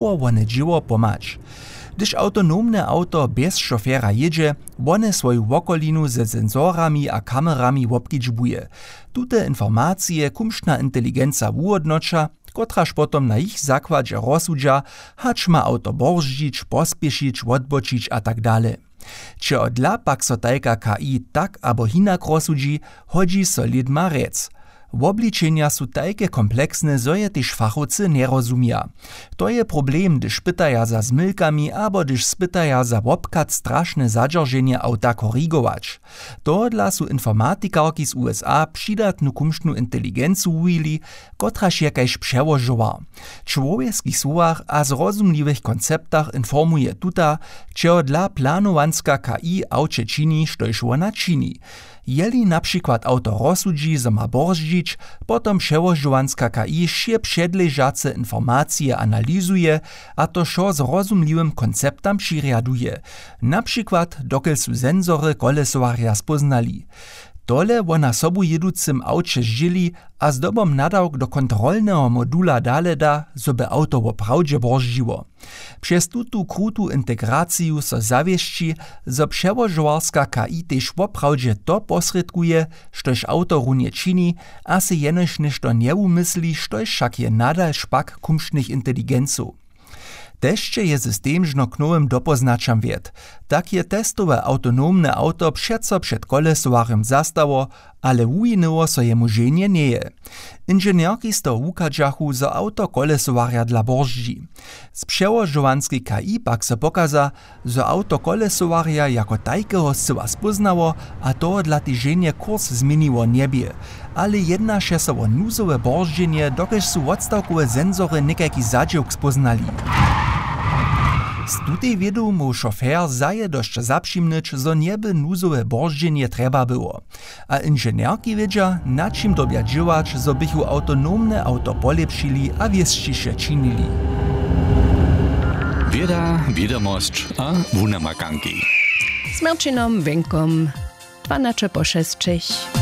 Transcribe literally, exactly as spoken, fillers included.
Móhło wone dźěło pomhać. Hdyž awtonomne awto bjez šofera jědźe, wone swoju wokolinu ze sensorami a kamerami wobkedźbuje. Tute informacije kumšna inteligenca wuhódnoća, kotraž potom na jich zakładźe rozsudźa, hač ma awto borzdźić, pospěšić, wotbočić a tak dale. Čehodla pak so tajka K I tak abo hinak rozsudźi, hodźi so lědma rjec. Wobličenja su tajke kompleksne, zo je tež fachowcy njerozumja. To je problem, hdyž pytaja za zmylkami abo hdyž spytaja za wobchad strašne zadźerženje awta korigować. Tohodla su informatikarki z U S A přidatnu kumšnu inteligencu wuwili, kotraž je kaž přełožowar. W čłowjeckich słowach a zrozumliwych konceptach informuje tuta, čehodla planowanska K I awće čini, štož wona čini. Jeli na přikład awto rozsudźi, zo ma borzdźić, potom přełožowanska K I wšě předležace informacije analizuje a to wšo zrozumliwym konceptam přirjaduje. Na přikład, dokelž su sensory kolesowarja spóznali. Tole wona sobujěducym awće zdźěli a zdobom nadawk do kontrolneho modula dale da, zo by awto woprawdźe borzdźiło. Přez tutu krutu integraciju so zawěsći, zo přełožowarska K I tež woprawdźe to posrědkuje, štož awto runje čini, a sej jenož něšto njewumysli, štož wšak je nadal špak kumšnych inteligencow. Tež je system žno k nowym dopóznaćam wjedł. Tak je testowe awtonomne awto přeco před kolesowarjom zastało, ale wuwinyło so jemu ženje njeje. Inženjerki z toho wuchadźachu, zo awto kolesowarja dla borzdźi. Z přełožowanskej K I pak so pokaza, zo awto kolesowarja jako tajkeho scyła spóznało a tohodla tež ženje kurs změniło njebě. Ale jednaše so wo nuzowe borzdźenje, dokelž su wotstawkowe sensory někajki zadźěłk spóznali. Z tutej wědu móhł šofer zaje dosć zapřimnyć, zo njeby nuzowe borzdźenje trjeba było. A inženjerki wědźa, na čim dyrbja dźěłać, zo běchu awtonomne awto polěpšili a wěsćiše činili. Wěda, wědomosć a wunamakanki. Z Marcinom Wenkom, dwanaće po šesćich.